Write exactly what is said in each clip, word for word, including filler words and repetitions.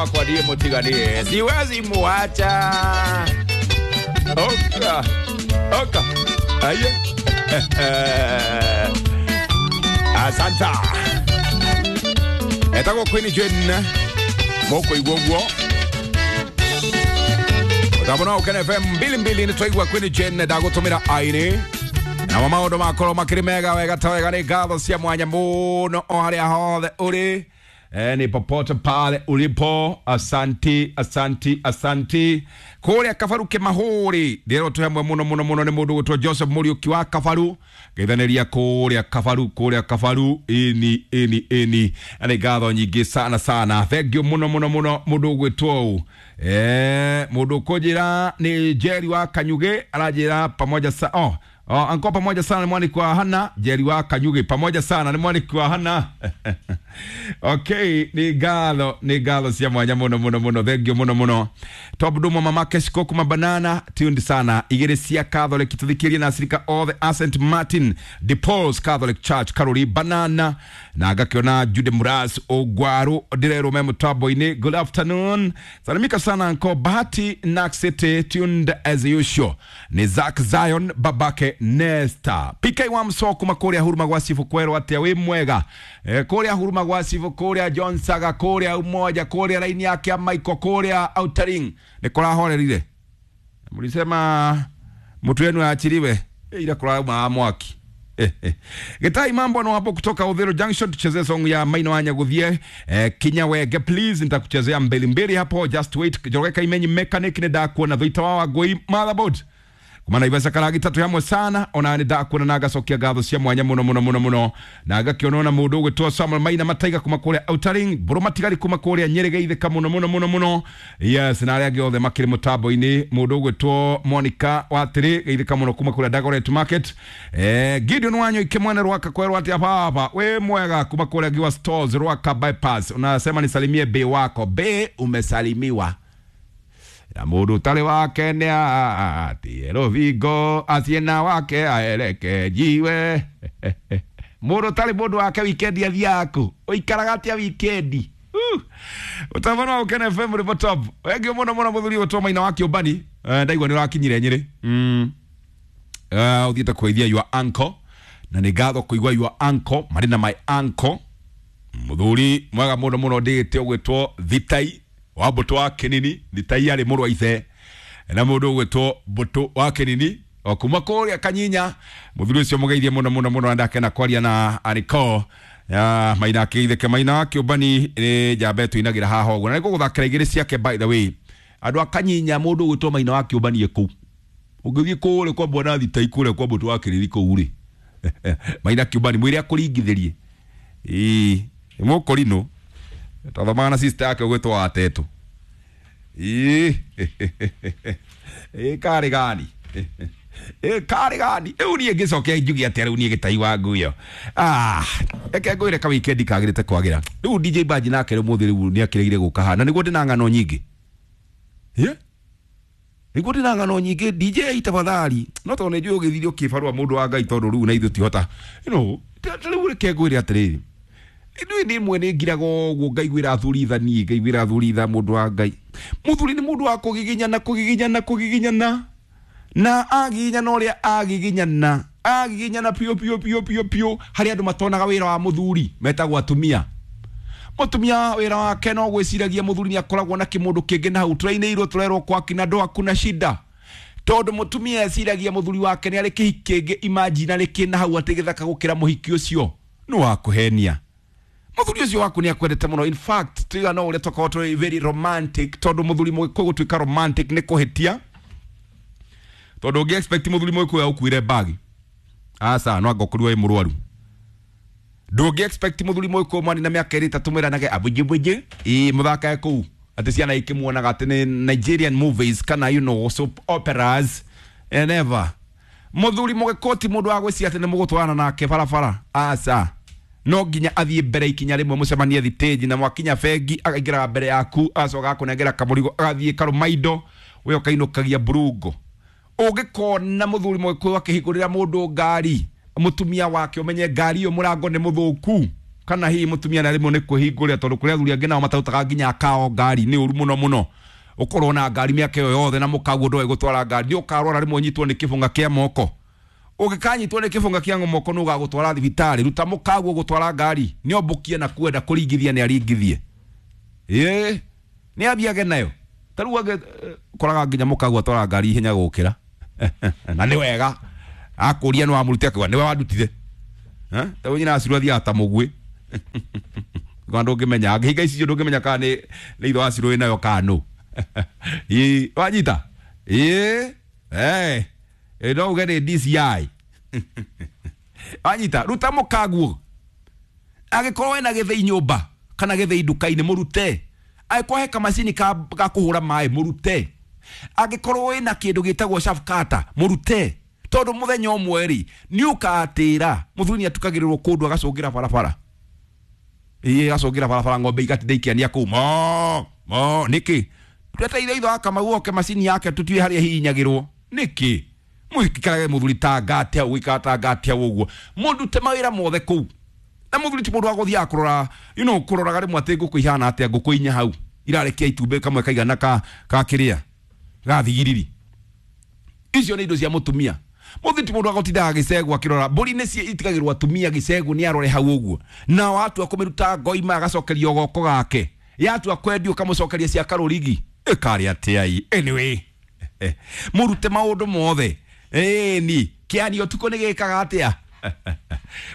Wakwa ndiye mutiganie, siwezi muacha. Oka oka aye. Asanta. Etagwo Queen Jane mokoigua ũguo ũtambo no Ũkene F M mbili mbili nĩ twaigua Queen Jane ndagũtũmĩra aini namo maũndũ makorwo makĩrĩ mega wega ta wega. Nĩ ngatho cia mwanya mũno o harĩa hothe ũrĩ, eh, ni popote pale ulipo, asanti asanti asanti. Kũrĩa Kabaru Kĩmahũri ndĩrwo twĩ hamwe mũno mũno mũno nĩ mũndũ gwĩtwo Joseph Mũriũki wa Kabaru, ngeithanĩria kũrĩa Kabaru, kũrĩa Kabaru ini ini ini. Na nĩ ngatho nyingĩ sana sana, thank you mũno mũno mũno mũndũ gwĩtwo ũũ. Eh, mũndũ ũkũnjĩra nĩ Jerry wa Kanyugĩ, aranjĩra pamoja sa oh Oh, anko pamoja sana ni mwaniki wa Hana, Jerry wa Kanyugi pamoja sana ni mwaniki wa Hana. Okay, ni galo, ni galo cia mwanya muno muno muno, thank you muno muno. Top dumo mamake shikoku mabanana tuned sana. Igere cia Catholic tuthikirie na asirika all the Saint Martin de Paul's Catholic Church Karori banana na gakiona Jude Muras Ogwaru direro memo tabo-ini. Good afternoon. Salimika sana anko Bahati Nak City tuned as usual. Ni Zach Zion babake Nesta P K wa msoko makoria huruma gwa sifu kwero atia wi mwega e, kuria huruma gwa sifu kuria John Saga kuria umoja kuria laini yake ya Michael kuria Outering ni kurahorerire mulisema mtu wenu aachiliwe e, ila kurauma mwaki. Getai mambo no hapo kutoka Udhiro Junction, tuchezee song ya Maina Wanya guthie eh, Kinya Wege please, nitakuchezea mbili mbili hapo, just wait. Joreka imenyi mechanic ni ndakuona thuita wa ngui motherboard kumana ibesa karagi tatu hamwe sana ona ni ndakuona na ngacokia ngatho cia mwanya muno muno muno muno na ngakionona mundu ugwitwo Samuel Maina Mataiga kuma kuria Outering Mburu Matigari kuma kuria Nyeri geithika muno muno muno muno. Yes, na aria angi othe makiri mutambo-ini mundu ugwitwo Monica Watiri geithika muno kuma kuria Dagoret Market. Eh, Gideon Wanyo ikimwene Rwaka kwerwo atia baba we mwega kuma kuria Giwa Stores Rwaka Bypass, unasema nisalimie be wako be, umesalimiwa na mundu utari wake nĩ atie rũthingo aciena wake aereke njiwe. Mundu utari mundu wake wikendi athiaga kũ? Ũikaraga atĩa wikendi? Ũtabano wa Ũkene F M rĩbo top wengĩ mũno mũno mũthuri ũtwo Maina wa Kĩũmbani. Ndaigua nĩ ũrakinyire Nyĩrĩ. Mm. Ũthiĩte kũgeithia your uncle na nĩ ngatho kũigua your uncle marĩ na my uncle mũthuri mwega mũno mũno ndĩgĩte ũgwĩtwo Thitai wa Mbũtũ wa Kĩnini. Thitai arĩ mũrũ wa ithe na mũndũ ũgwĩtwo Mbũtũ wa Kĩnini o kuma kũrĩa Kanyinya. Mũthuri ũcio mũgeithie mũno mũno mũno na ndakena kwaria na Aniko ya Maina akĩgeithĩke. Maina wa Kĩũmbani nĩ njamba ĩtũinagĩra haha ũguo na nĩngũgũthakĩra igĩrĩ ciake by the way. Andũ a Kanyinya mũndũ ũgwĩtwo Maina wa Kĩũmbani e kũu, ũngĩthiĩ kũrĩa kwa Bwana Thitai kũrĩa kwa Mbũtũ wa Kĩnini kũu rĩ, Maina Kĩũmbani mwĩre akũringithĩrie ĩĩ mũkũrinũ twathomaga na sister yake ũgwĩtwo Watetũ. Ĩĩ ĩĩ karĩ gani ĩĩ karĩ gani rĩu niĩ ngĩcokia njuge atĩa rĩu niĩ gĩtai wa nguyo. Ah, reke ngwĩre ka weekend kagĩrĩte kwagĩra rĩu. D J Baji nake rĩu mũthĩ rĩu nĩ akĩregire gũka haha na nĩguo ndĩna ng'ano nyingĩ. Ĩ nĩguo ndĩna ng'ano nyingĩ D J tafadhali, no tondũ nĩ njũĩ ũgĩthire ũkĩbarũa mũndũ wa Ngai tondũ rĩu na ithuĩ tihota you know rĩu reke ngwĩre atĩrĩrĩ, ithuĩ nĩ mwe nĩ ngiraga ũguo ngaiguĩra athuri tha niĩ ngaiguĩra athuri tha mũndũ wa Ngai. Mũthuri nĩ mũndũ wa kũgiginyana kũgiginyana kũgiginyana na agiginyana ũrĩa agiginyana agiginyana piũ piũ piũ piũ piũ harĩa andũ matonaga wĩra wa mũthuri metagwo atumia. Mũtumia wĩra wake no gwĩciragia mũthuri nĩ akoragwo na kĩmũndũ kĩngĩ na hau tũrainĩirwo tũrerwo kwa kina ndũa kuna shida tondũ mũtumia eciragia mũthuri wake nĩ arĩ kĩhiki kĩngĩ imaginary kĩna hau atĩ gĩthaka gũkĩra mũhiki ũcio nĩ wa kũhenia. Mũthuri ũcio waku nĩ akwendete mũno, in fact tuiga no ũrĩa twakorwo tũrĩ very romantic tondũ mũthuri mũgĩkũyũ gũtuĩka romantic nĩ kũhĩtia tondũ ũngĩ expect mũthuri mũgĩkũyũ agũkuĩre bagi aca no angĩkorirwo wĩ mũrwaru. Ndũngĩ expect mũthuri mũgĩkũyũ mwanina na mĩaka ĩrĩ ĩtatũ mwĩranage abujibũji ĩĩ mũthakae kũu atĩ ciana ikĩmuonaga atĩ nĩ Nigerian movies kana you know soap operas eh, never. Mũthuri mũgĩkũyũ ti mũndũ wa gwĩciria atĩ nĩ mũgũtwarana nake barabara aca no nginya athiĩ mbere ikinya rĩmwe mũcemanie thitĩnji na mwakinya bengi akaingĩraga mbere yaku agacoka agakũnengera kamũrigo agathiĩ karũma indo we ũkainũkagia mburungo. Ũngĩkona mũthuri mũgĩkũyũ akĩhingũrĩra mũndũ ngari mũtumia wake ũmenye ngari ĩyo mũrango nĩ mũthũku. Kana hihi mutumia na rĩmwe nĩ kwĩhingũrĩra tondũ kũrĩ athuri angĩ nao matarutaga nginya kao ngari nĩ ũru mũno mũno. Ũkorwo na ngari mĩaka ĩyo yothe na mũkaguo ndoĩ gũtwara ngari, nĩ ũkarwara rĩmwe ũnyitwo nĩ kĩbũng'a kĩa moko. Ũngĩkanyitwo nĩ kĩbũng'a kĩa moko nĩ ũgagũtwara thibitarĩ. Ruta mũkaguo gũtwara ngari, nĩ ombũkie na kwenda kũringithia nĩ aringithie. Ĩĩ, nĩ athiage nayo. Ta rĩu angĩ koraga nginya mũkaguo atwara ngari ihenya gũkĩra. Na nĩ wega. Akũria nĩ wamũrutire akauga nĩwe wandutire. Eh? Ta rĩu nyina Acirũ athiaga ta mũguĩ. Kwa ndũngĩmenya, angĩhinga icicio ndũngĩmenya kana nĩ nĩ ithe wa Acirũ wĩnayo kana nũ. Ĩĩ, wanyita? Ĩĩ, eh, no uge nĩ D C I. Wanyita, ruta mũkaguo. Angĩkorwo wĩna gĩthĩi nyũmba kana gĩthĩi nduka-inĩ mũrute. Angĩkorwo he kamacini ka ga kũhũra maĩ mũrute. Angĩkorwo wĩna kĩndũ gĩtagwo chaff cutter mũrute. Tondũ mũthenya ũmwe rĩ, nĩ ũkatĩra mũthuri nĩ atukagĩrĩrwo kũndũ agacũngĩra barabara. Ĩĩ, agacũngĩra barabara ng'ombe igatinda ikĩania kũu mo mo nĩkĩ? Twetereire ithe wa Kamau oke macini yake tũtue harĩa ihihinyagĩrwo. Nĩkĩ? Mũikarage mũthuri ta ngate hau, gũikara ta ngate hau ũguo. Mũndute mawĩra mothe kũu. Na mũthuri ti mũndũ wa gũthiaga kũrora, you know, kũroraga rĩmwe atĩ ngũkũ ihana atĩa, ngũkũ inya hau irarekia itumbĩ kamwe kaigana ka ka kĩrĩa ga thigiriri. Icio nĩ indo cia mũtumia. Mũthuri ti mũndũ wa gũtindaga gĩcegũ akĩrora. Mbũri nĩ itigagĩrwo atumia gĩcegũ nĩ arore hau ũguo. Na watua kũmĩruta ngoima agacokerio goko gake. Yatua kwendio ũkamũcokeria cia karũrigi. Ĩkarĩ atĩa ĩ? Anyway, mũrute maũndũ mothe. Ĩni, kĩani ũtukũ nĩ gĩkaga atĩa?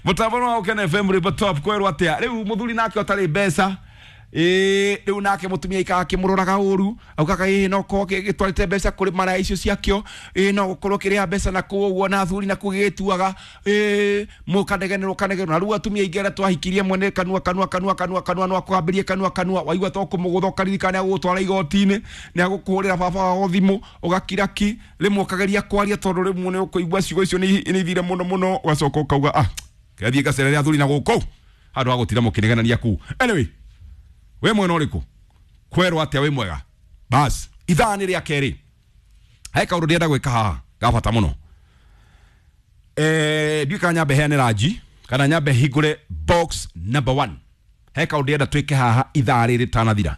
Mũtambo wa Ũkene F M rwĩmbo top kwerwo atĩa? Rĩu mũthuri nake ũtarĩ mbeca, ĩĩ, rĩu nake mũtumia aikaraga akĩmũroraga ũru, augaga ĩĩ no korwo gĩtwarĩte mbeca kũrĩ maraya icio ciakĩo, ĩĩ no gũkorwo kĩrĩha mbeca na kũu ũguo na athuri na kũu gĩgĩtuaga, ĩĩ mũkanegenerwo kanegenerwo. Na rĩu atumia aingĩ arĩa twahikirie mwene kanua kanua kanua kanua kanua no akũhambĩrie kanua kanua, waigua to kũmũgũtha ũkaririkana nĩ agũgũtwara igoti-inĩ, nĩ agũkũhũrĩra baba wao thimũ, ũgakira ki, rĩmwe ũkageria kwaria tondũ rĩmwe nĩ ũkũigua ciugo icio nĩ ithire mũno mũno, ũgacoka ũkauga ah, kĩrathiĩ ngacerere athuri na gũkũ handũ ha gũtinda mũkĩnegenania kũu. Anyway, we mwena ũrĩkũ? Kwerwo atĩa wĩ mwega? Bas, ithaa nĩ rĩa kerĩ. He kaũndũ ndĩrenda gwĩka haha ga bata mũno. Eh, ndiũĩ kana nyambe heane ranji kana nyambe hingũre box number one. He kaũndũ ndĩrenda twĩke haha ithaa rĩrĩ rĩtanathira.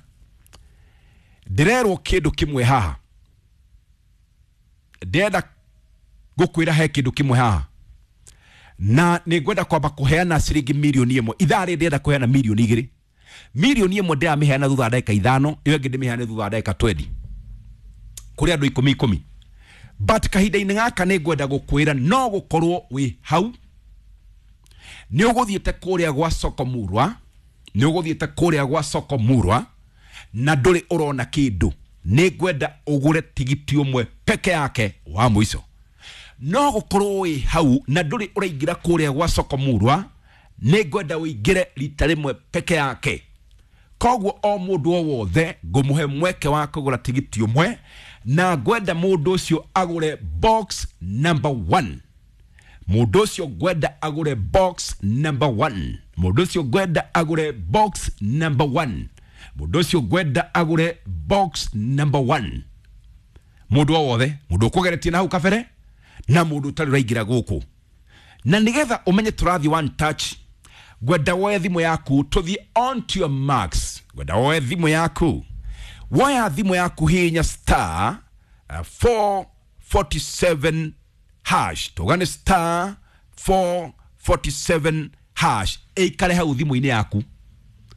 Ndĩrerwo kĩndũ kĩmwe haha. Ndĩrenda gũkwĩra he kĩndũ kĩmwe haha. Na nĩ ngwenda kwamba kũheana ciringi mirioni ĩmwe. Ithaa rĩrĩ ndĩrenda kũheana mirioni igĩrĩ. Mirioni ĩmwe ndĩramĩheana thutha wa ndagĩka ithano, ĩyo ĩngĩ ndĩmĩheane thutha wa ndagĩka twendi. Kũrĩ andũ ikũmi ikũmi. But kahinda-inĩ gaka nĩ ngwenda gũkwĩra no gũkorwo wĩ hau. Nĩ ũgũthiĩte kũrĩa gwa Soko Murwa, nĩ ũgũthiĩte kũrĩa gwa Soko Murwa na ndũrĩ ũrona kĩndũ. Nĩ ngwenda ũgũre tigiti ũmwe peke yake wa mũico. No gũkorwo wĩ hau na ndũrĩ ũraingĩra kũrĩa gwa Soko Murwa, nĩ ngwenda ũingĩre rita rĩmwe peke yake. Koguo o mũndũ o wothe ngũmũhe mweke wa kũgũra tigiti ũmwe, na ngwenda mũndũ ũcio agũre box number one. Mũndũ ũcio ngwenda agũre box number one. Mũndũ ũcio ngwenda agũre box number one. Mũndũ ũcio ngwenda agũre box number one. Mũndũ o wothe, mũndũ ũkũgeretie na hau kabere na mũndũ ũtarĩ ũraingĩra gũkũ. Na nĩgetha ũmenye tũrathiĩ one touch, ngwenda woe thimũ yaku tũthiĩ on to your marks. Ngwenda woe thimũ yaku. Woya thimũ yaku hinya star uh, four forty-seven hash. Tũgane star four forty-seven hash. Ĩikare hau thimũ-inĩ yaku.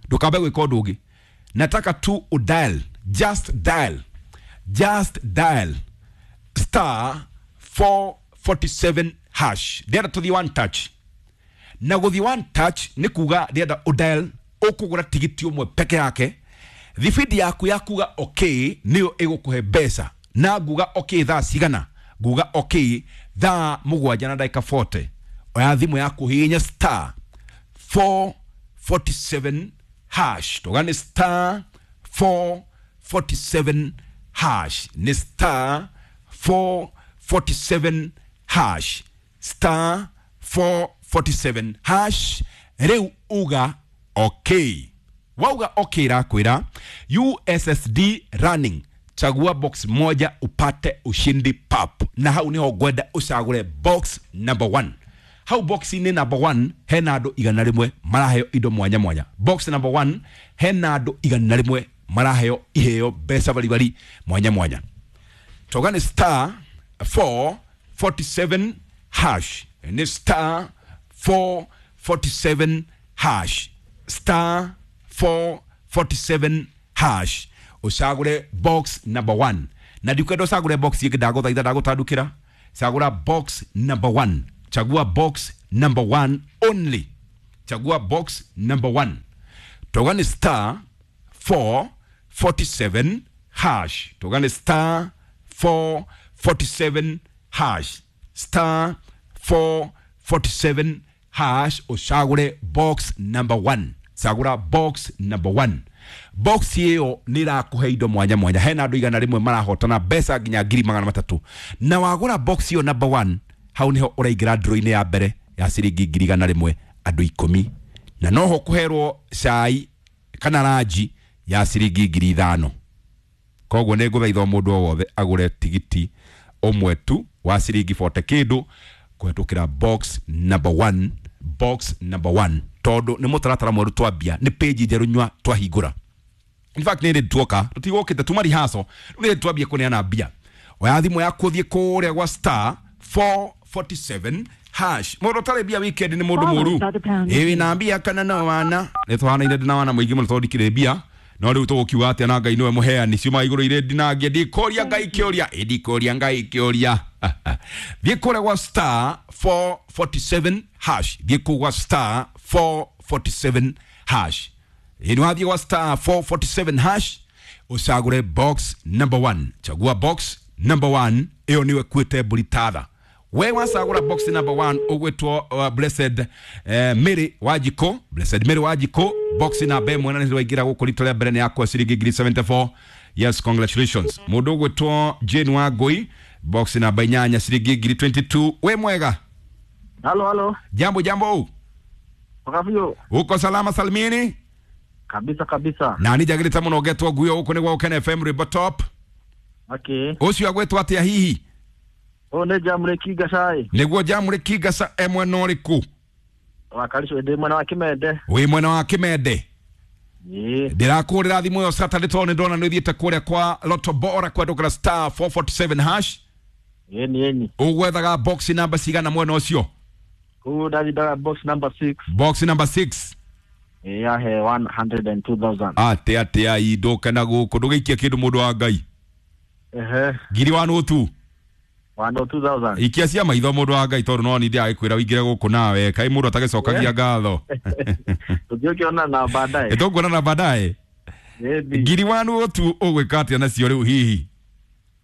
Ndũkambe gwĩka ũndũ ũngĩ. Nataka tu udial, just dial, just dial star four forty-seven hash. Ndĩrenda tũthiĩ one touch. Na gũthiĩ one touch nĩ kuga ndĩrenda udial ũkũgũra tigiti ũmwe peke yake. Thibindi yaku ya kuga okay nĩyo ĩgũkũhe mbeca. Na nguga okay thaa cigana? Nguga okay thaa mũgwanja na ndagĩka forty. Oya thimũ yaku hihinya star four forty-seven hash. Tũgane star four forty-seven hash. Nĩ star four forty-seven hash. Star four forty-seven hash. Rĩu uga okay. Wauga okay rakwira U S S D running. Chagua box moja upate ushindi pap. Na hau niho ngwenda ucagure box number one. Hau box-inĩ number one hena andũ igana rĩmwe maraheo indo mwanya mwanya. Box number one hena andũ igana rĩmwe maraheo iheo mbeca baribari mwanya mwanya. Toga nĩ star four forty-seven hash, nĩ star four forty-seven hash, star four forty-seven hash, ucagure box number one. Na ndikwenda ucagure box ĩngĩ, ndagũthaitha, ndagũtandukĩra, cagũra box number one. Chagua box number one only, chagua box number one. Toga nĩ star four forty-seven hash, toga nĩ star four forty-seven hash, star four forty-seven hash, ucagure box number one. Cagũra box number one. Box ĩyo nĩ ĩrakũhe indo mwanya mwanya. Hena andũ igana rĩmwe marahotana mbeca nginya ngiri magana matatũ, na wagũra box ĩyo number one, hau nĩho ũraingĩra draw-inĩ ya mbere ya ciringi ngiri igana rĩmwe andũ ikũmi, na noho kũherwo cai kana ranji ya ciringi ngiri ithano. Koguo nĩ ngũthaitha mũndũ o wothe agũre tigiti ũmwe tu wa ciringi forty kĩndũ kũhetũkĩra box number one, box number one, tondũ nĩ mũtaratara mwerũ twambia, nĩ page njerũ nyua twahingũra. In fact nĩ rĩ tuoka tũtigũkĩte tuma rehearsal, rĩu nĩ twambia kũneana mbia. Oya thimũ yaku ũthiĩ kũrĩa gwa star four forty-seven hash. Mũndũ ũtarĩ mbia weekend nĩ mũndũ mũru. Ĩ wĩna mbia kana no wana? Nĩ tũhanaine ndĩ na wana mũingĩ mũno tondũ ndikĩrĩ mbia, no rĩu tũgũkiuga atĩa na Ngai nĩwe mũheani, ciuma igũrũ irĩ ndinangie, ndikũria Ngai kĩũria, ĩ ndikũria Ngai kĩũria. Thiĩ kũrĩa gwa star four forty-seven hash, thiĩ kũu gwa star four forty-seven hash. Ĩ nĩ wathiĩ gwa star four forty-seven hash, ũcagũre box number one. Chagua box number one, ĩyo nĩwe kuĩte mbũri tatha. We wacagũra box number one ũgwĩtwo uh, Blessed eh, Mary Wanjikũ, Blessed Mary Wanjikũ, box namba ĩmwe, na nĩ waingĩra gũkũ rita rĩa mbere nĩ yakwa ciringi ngiri seventy-four. Yes, congratulations. Mũndũ ũgwĩtwo Jane Wangũi, box namba inyanya, ciringi ngiri twenty-two. We mwega? Halo, halo. Jambo, jambo. Wakafio. Uko salama salmini? Kabisa kabisa. Na nĩ njagĩrĩte mũno ngetwo nguo gũkũ nĩ gwa Gũkena F M Rwĩmbo Top. Okay. Ũcio agwĩtwo atĩa hihi? O nĩ Jamũrĩki Gacai. Nĩguo Jamũrĩki Gaca e mwena ũrĩkũ? Wakaricio ndĩ mwena wa Kĩmende. Wĩ mwena wa Kĩmende? Ĩĩ. Ndĩrakũrĩra thimũ ĩyo Saturday tondũ nĩ ndona nĩ ũthiĩte kũrĩa kwa Lotto Bora kwendũkĩra star four forty-seven hash. Ĩni ĩni. Ũgwethaga box number cigana mwena ũcio? Kũu ndathindaga box number six. Box number six. Ĩĩ, yahe one hundred and two thousand. Atĩ atĩ ai ndũke na gũkũ ndũgĩikie kĩndũ mũndũ wa Ngai. Ehe. Ngiri one oh two. one oh two thousand. Ikia cia maitho mũndũ wa Ngai tondũ no nĩ ndĩragĩkwĩra ũingĩre gũkũ nawe kaĩ mũndũ atagĩcokagia ngatho. Tũngĩũkĩona na baadaye. Tũkuonana na baadaye. Ngiri one oh two ũgwĩka atĩa nacio rĩu hihi?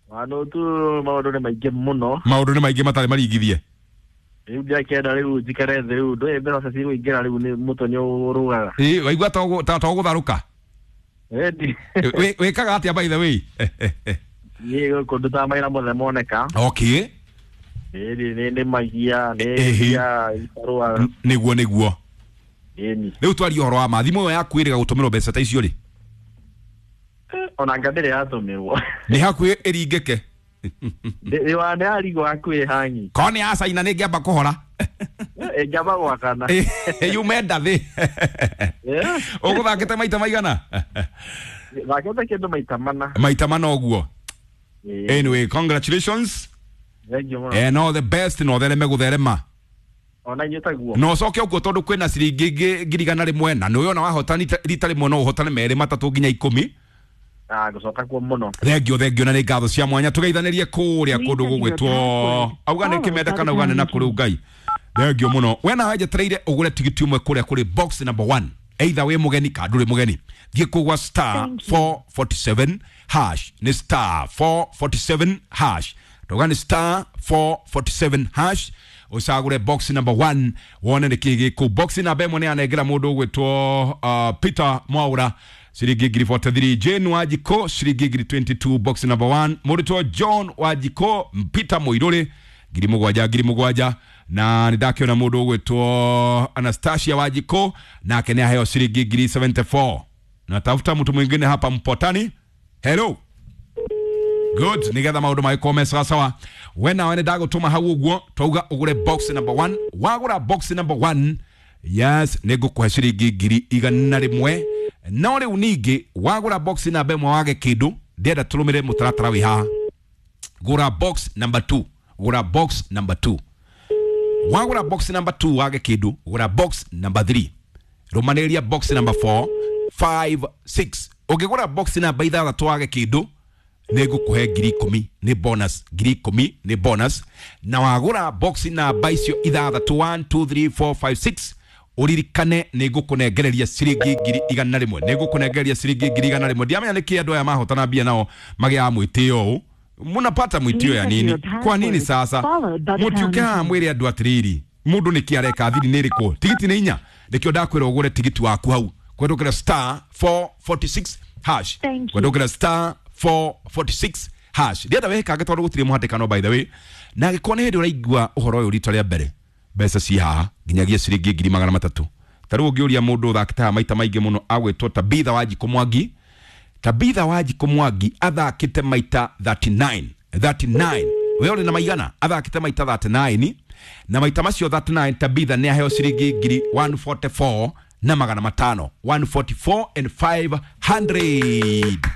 one oh two maũndũ nĩ maingĩ mũno. Maũndũ nĩ maingĩ matarĩ maringithie. Rĩu ndiakĩenda rĩu njikare thĩ rĩu ndũĩ mbeca cigũingĩra rĩu nĩ mũtwe nĩ ũrũgaga. Ĩ waigua ta ũgũtharũka? Ĩni. Wĩkaga atĩa by the way? Niĩ gũkũ ndutaga mawĩra mothe moneka. Okay. Ĩni nĩ nĩmagia, nĩ mbia ibarũa. Nĩguo nĩguo. Ĩni. Rĩu twarie ũhoro wa ma, thimũ ĩyo yaku ĩrĩga gũtũmĩrwo mbeca ta icio rĩ? Ona anga ndĩrĩ yatũmĩrwo. Nĩ hakuhĩ ĩringĩke. Nĩ yarigwo hakuhĩ hangi. Korwo nĩ ya Caina nĩ ĩngĩamba kũhora. Ĩngĩamba gwakana. Yume ndathĩ. Ũgũthakĩte maita maigana? Thakĩte kĩndũ maita mana. Maita mana ũguo. Anyway, congratulations. Thank you. And all the best no thereme gutherema. Ona inyuĩ taguo. No coke ũguo tondũ kwĩna ciringi ngiri igana rĩmwe na nĩũĩ ona wahotani rita rĩmwe no ũhotane merĩ matatũ nginya ikũmi. Ah, gũcoka kuo mũno. Thengio, thengio na nĩ ngatho cia mwanya tũgeithanĩrie kũrĩa kũndũ gũgwĩtwo auga nĩ Kĩmende kana auga nĩ na kũrĩ Ngai. Thengio mũno. We nawe njetereire ũgũre tigiti ũmwe kũrĩa kũrĩ box number one. Either wĩ mũgeni kana ndũrĩ mũgeni. Thiĩ kũu gwa star four forty-seven hash, nĩ star four forty-seven hash. Ndauga nĩ star four forty-seven hash, ũcagũre box number one wone nĩ kĩĩ gĩkũ. Box number ĩmwe nĩ yanengera mũndũ ũgwĩtwo uh, Peter Mwaura ciringi ngiri forty-three, Jane Wanjikũ ciringi ngiri twenty-two, box number one. Mũrutwo John Wanjikũ, Peter Mũirũrĩ ngiri mũgwanja ngiri mũgwanja, na nĩ ndakĩona mũndũ ũgwĩtwo Anastasia Wanjikũ nake nĩ aheo ciringi ngiri seventy-four. Natafuta mtu mwingine hapa Mpotani. Hello. Good, nigetha maundu magĩkorwo me sawasawa. We nawe nĩ ndagũtũma hau ũguo twauga ũgũre box number one. Wagũra box number one, yes, nĩ ngũkũhe ciringi ngiri igana rĩmwe. No rĩu ningĩ wagũra box namba ĩmwe wage kĩndũ, ndĩrenda tũrũmĩrĩre mũtaratara wĩ haha. Gũra box number two, gũra box number two. Wagũra box number two wage kĩndũ, gũra box number three. Rũmanĩrĩria box number four, five, six. Ũngĩgũra box namba ithathatũ wage kĩndũ, nĩ ngũkũhe ngiri ikũmi nĩ bonus, ngiri ikũmi nĩ bonus. Na wagũra box namba icio ithathatũ, one, two, three, four, five, six, ũririkane nĩ ngũkũnengereria ciringi ngiri igana rĩmwe, nĩ ngũkũnengereria ciringi ngiri igana rĩmwe. Ndiamenya nĩkĩ andũ aya mahotana mbia nao magĩaga mwĩtĩo ũũ. Munapata mwĩtĩo ya nini? Kwa nini sasa mũtiũke haha mwĩre andũ atĩrĩrĩ, mũndũ nĩkĩ areka, thiri nĩ ĩrĩkũ, tigiti nĩ inya? Nĩkĩo ndakwĩra ũgũre tigiti waku hau kũhetũkĩra star four forty-six hash, kũhetũkĩra star four forty-six hash. Ndienda wĩkange tondũ gũtirĩ mũhatĩkano, by the way. Na angĩkorwo nĩ hĩndĩ ũraigua ũhoro ũyũ rita rĩa mbere, mbeca ci haha nginyagia ciringi ngiri magana matatũ. Ta rĩu ũngĩũria mũndũ ũthakĩte haha maita maingĩ mũno agwĩtwo Tabitha Wanjikũ Mwangi. Tabitha Wanjikũ Mwangi athakĩte maita thirty-nine, thirty-nine. We ũrĩ na maigana? Athakĩte maita thirty-nine, na maita macio thirty-nine Tabitha nĩ aheo ciringi ngiri one forty-four na magana matano, one forty-four and five hundred.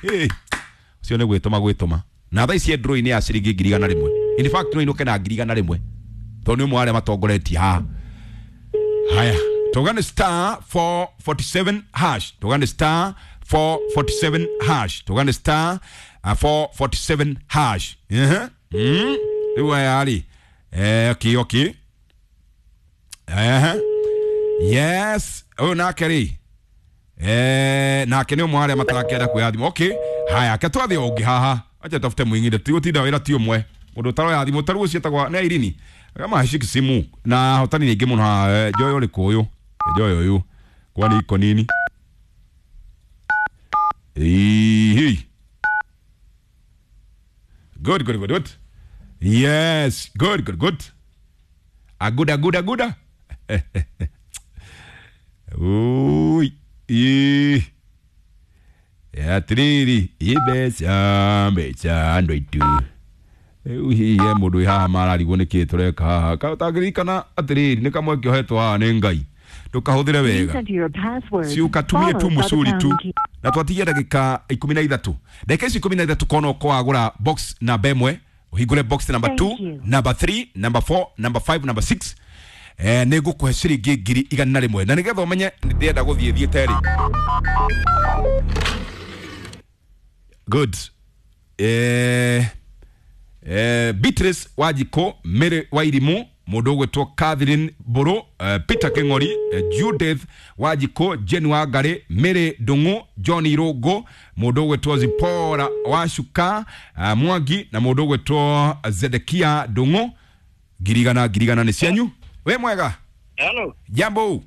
Hey, ũcio nĩ gwĩtũma gwĩtũma. Na thaa ici e draw-inĩ ya ciringi ngiri igana rĩmwe. In fact no inũke na ngiri igana rĩmwe tondũ nĩ ũmwe wa arĩa matongoretie haha. Haya, tũgane star four forty-seven hash, tũgane star four forty-seven hash, tũgane star four forty-seven hash. Ehe, mm rĩu aya rĩ, eh, okay, okay, ehe, yes, ũyũ nake rĩ, eh, nake nĩ ũmwe wa arĩa matarakĩenda kuoya thimũ. Okay, haya, ke twathiĩ ũngĩ haha, acha tafute mwingine, tigũtinda wĩra ti ũmwe. Mũndũ ũtaroya thimũ ta rĩu ũcio etagwo nĩ Irene, kama hashiki simu na hotani nyingĩ mũno haha. Njoyo ũrĩkũ ũyũ? Njoyo ũyũ kwani iko nini? Ihi. Good, good, good, good. Yes, good, good, good. Aguda, guda, guda. Ui, i. Atiriri, ibeca, mbeca, andũ aitũ. Rĩu hihi he mũndũ wĩ haha mararigwo nĩkĩ tũreka haha. Ũtangĩririkana atĩrĩrĩ, nĩ kamwe kĩohetwo haha nĩ Ngai. Ndũkahũthĩre wega. Ciũkatumie tu mũcuri tu. Na twatigia ndagĩka ikũmi na ithatũ. Ndagĩka ici ikũmi na ithatũ kona ũko wagũra box namba ĩmwe, ũhingũre box number two, number three, number four, number five, number six. Eh, nĩ ngũkũhe ciringi ngiri igana rĩmwe. Na nĩgetha ũmenye ndĩrenda gũthiĩ thiĩte rĩ. Good. Eh, eh, Beatrice Wanjikũ, Mary Wairimu, mũndũ ũgwĩtwo Catherine Mbũrũ, eh, Peter Kĩng'ori, eh, Judith Wanjikũ, Jane Wangari, Mary Ndung'u, John Irũngũ, mũndũ ũgwĩtwo Zipora Wacuka, eh, Mwangi, na mũndũ ũgwĩtwo Zedekia Ndung'u. Ngiri igana, ngiri igana nĩ cianyu. Wĩ mwega? Hello. Jambo.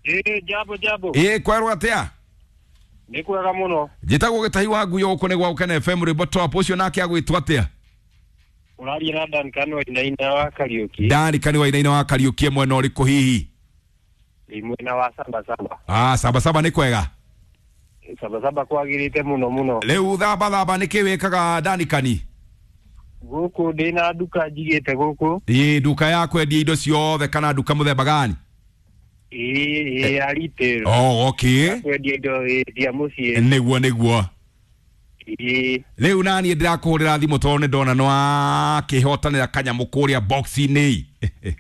Eh, jambo, jambo. Eh, kwerwo atĩa? Nĩ kwega mũno. Njĩtagwo Gĩtahi wa Nguyo, gũkũ nĩ gwa Gũkena F M, rwĩmbo top. Ũcio nake agwĩtwo atĩa? Ũraria na Duncan Wainaina wa Kariũki. Duncan Wainaina wa Kariũki, mwena ũrĩkũ hihi? Ndĩ mwena wa Sabasaba. Ah, Sabasaba nĩ kwega? Sabasaba kwagĩrĩte mũno mũno. Rĩu Thabathaba nĩkĩ wĩkaga Duncan? Gũkũ ndĩna nduka njigĩte gũkũ. Ĩ, nduka ya kwendia indo ciothe kana nduka mũthemba gani? Ĩ, ĩ, ya retail. Oh, okay. Ya kwendia indo cia mũciĩ. Nĩguo, nĩguo. Ĩ. Rĩu naniĩ ndĩrakũhũrĩra thimũ tondũ nĩ ndona nĩwakĩhotanĩra kanyamũ kũrĩa box-inĩ. Ĩ,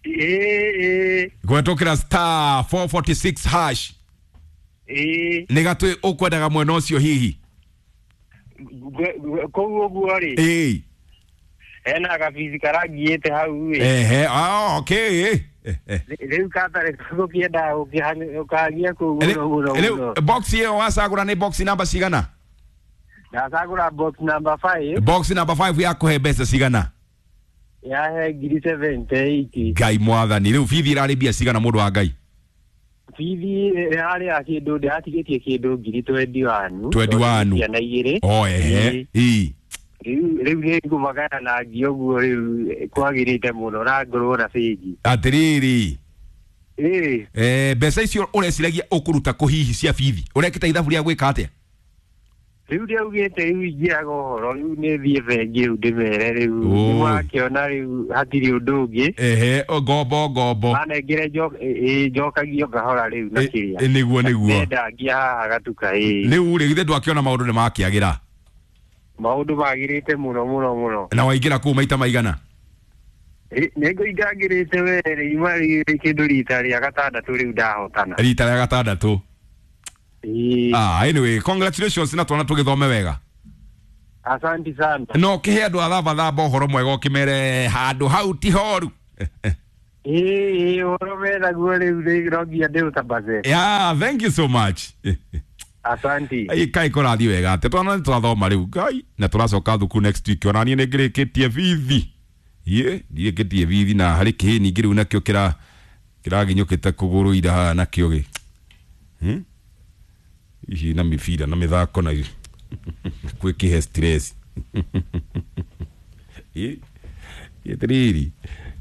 ĩ. Kũhetũkĩra star four forty-six hash. Ĩ. Nĩ gatũ ũkwendaga mwena ũcio hihi? Kũu ũguo rĩ. Ĩ. Hena gabici karangiĩte hau ĩ. Ehe, ah, okay. Rĩu katarĩ gũkĩenda gũkagia kũu mũno mũno mũno. Rĩu box ĩyo wacagũra nĩ box namba cigana? Ndacagũra box number five. Box number five yakũhe mbeca cigana? Yahe ngiri seventy eight. Ngai mwathani, rĩu bithi ĩrarĩ mbia cigana mũndũ wa Ngai? Bithi harĩa kĩndũ ndĩratigĩtie kĩndũ ngiri twenty one. Twenty one. Ciana igĩrĩ. Oh, ehe. Ĩ. Rĩu rĩu nĩ ngũmagana na ngi ũguo rĩu kwagĩrĩte mũno na ngorwo na bengi. Atĩrĩrĩ. Ĩ. Eh, mbeca icio ũreciragia ũkũruta kũ hihi cia bithi? Ũrekĩte ithabu rĩa gwĩka atĩa? Rĩu ndĩaugĩte rĩu ingĩaga ũhoro rĩu nĩ thiĩ bengi rĩu ndĩmere rĩu Oi. nĩwakĩona rĩu hatirĩ ũndũ ũngĩ. Ehe, o, ngombo ngombo. Manengere njo- ĩ- ĩ, njokagio ngahora rĩu na Ĩ- kĩrĩa. ĩ, nĩguo nĩguo. Ndendangia haha gatuka ĩ. Rĩu rĩ githĩ ndwakĩona maũndũ nĩ makĩagĩra. Maũndũ magĩrĩte mũno mũno mũno. Na waingĩra kũu maita maigana? Ĩ, nĩngũingangĩrĩte we rĩu kĩndũ rita rĩa gatandatũ rĩu ndahotana. Rita rĩa gatandatũ. Ĩ, Ah, anyway, congratulations na twana tũgĩthome wega. Asanti sana. No kĩhe andũ a thambathamba ũhoro mwega ũkĩmere handũ hau ti horu. Ĩ, ĩ, ũhoro menaguo rĩu rĩ- no nginya ndĩũtambaze. Yeah, thank you so much. Asanti. Ai kai kũrathiĩ wega atĩ twana nĩ twathoma rĩu ngai na tũracoka thukuru next week ona niĩ nĩ ngĩrĩkĩtie bithi. Ye, ndirĩkĩtie bithi na harĩ kĩhĩ ningĩ rĩu nakĩo kĩra kĩraginyũkĩte kũgũrũ ira haha nakĩo gĩ. Hmm? Ici na mĩbira na mĩthako na gwĩkĩhe stress. Ĩ, ĩtiriri.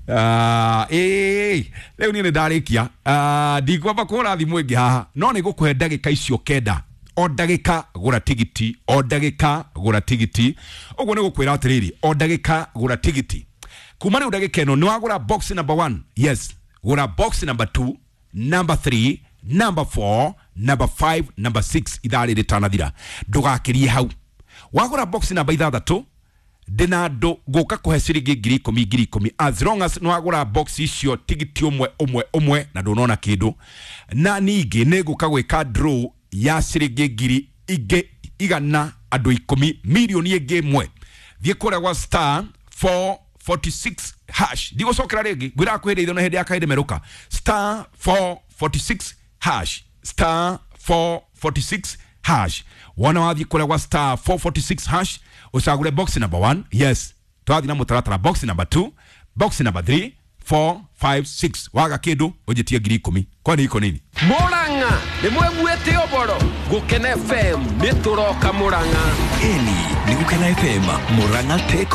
Ah, ĩ, rĩu niĩ nĩ ndarĩkia. Ah, ndikwamba kũhũra thimũ ĩngĩ haha no nĩ ngũkũhe ndagĩka icio kenda o ndagĩka gũra tigiti o ndagĩka gũra tigiti ũguo nĩ gũkwĩra atĩrĩrĩ o ndagĩka gũra tigiti kuma rĩu ndagĩka ĩno nĩ wagũra box number one, yes, gũra box number two, number three, number four, number five, number six ithaa rĩrĩ rĩtanathira ndũgakĩrie hau wagũra box namba ithathatũ ndĩna andũ ngũka kũhe ciringi ngiri ikũmi ngiri ikũmi as long as nĩwagũra box icio tigiti ũmwe ũmwe ũmwe na ndũnona kĩndũ na ningĩ nĩ ngũka gwĩka draw ya ciringi ngiri ingĩ igana andũ ikũmi mirioni ĩngĩ ĩmwe thiĩ kũrĩa gwa star four forty-six hash ndigũcokera rĩngĩ ngwĩraga kwĩhĩrĩ ithio na hĩndĩ ya kahĩndĩ merũka star four forty-six hash star four forty-six hash wona wathiĩ kũrĩa gwa star four forty-six hash ũcagũre box number one, yes, twathiĩ na mũtaratara box number two, box number three, four, five, six waga kĩndũ ũnjĩtie ngiri ikũmi kwani iko nini Murang'a nĩ mweguĩte ũboro Gũkena F M nĩ tũroka Murang'a. Eni ni Gukena F M Murang'a Tech.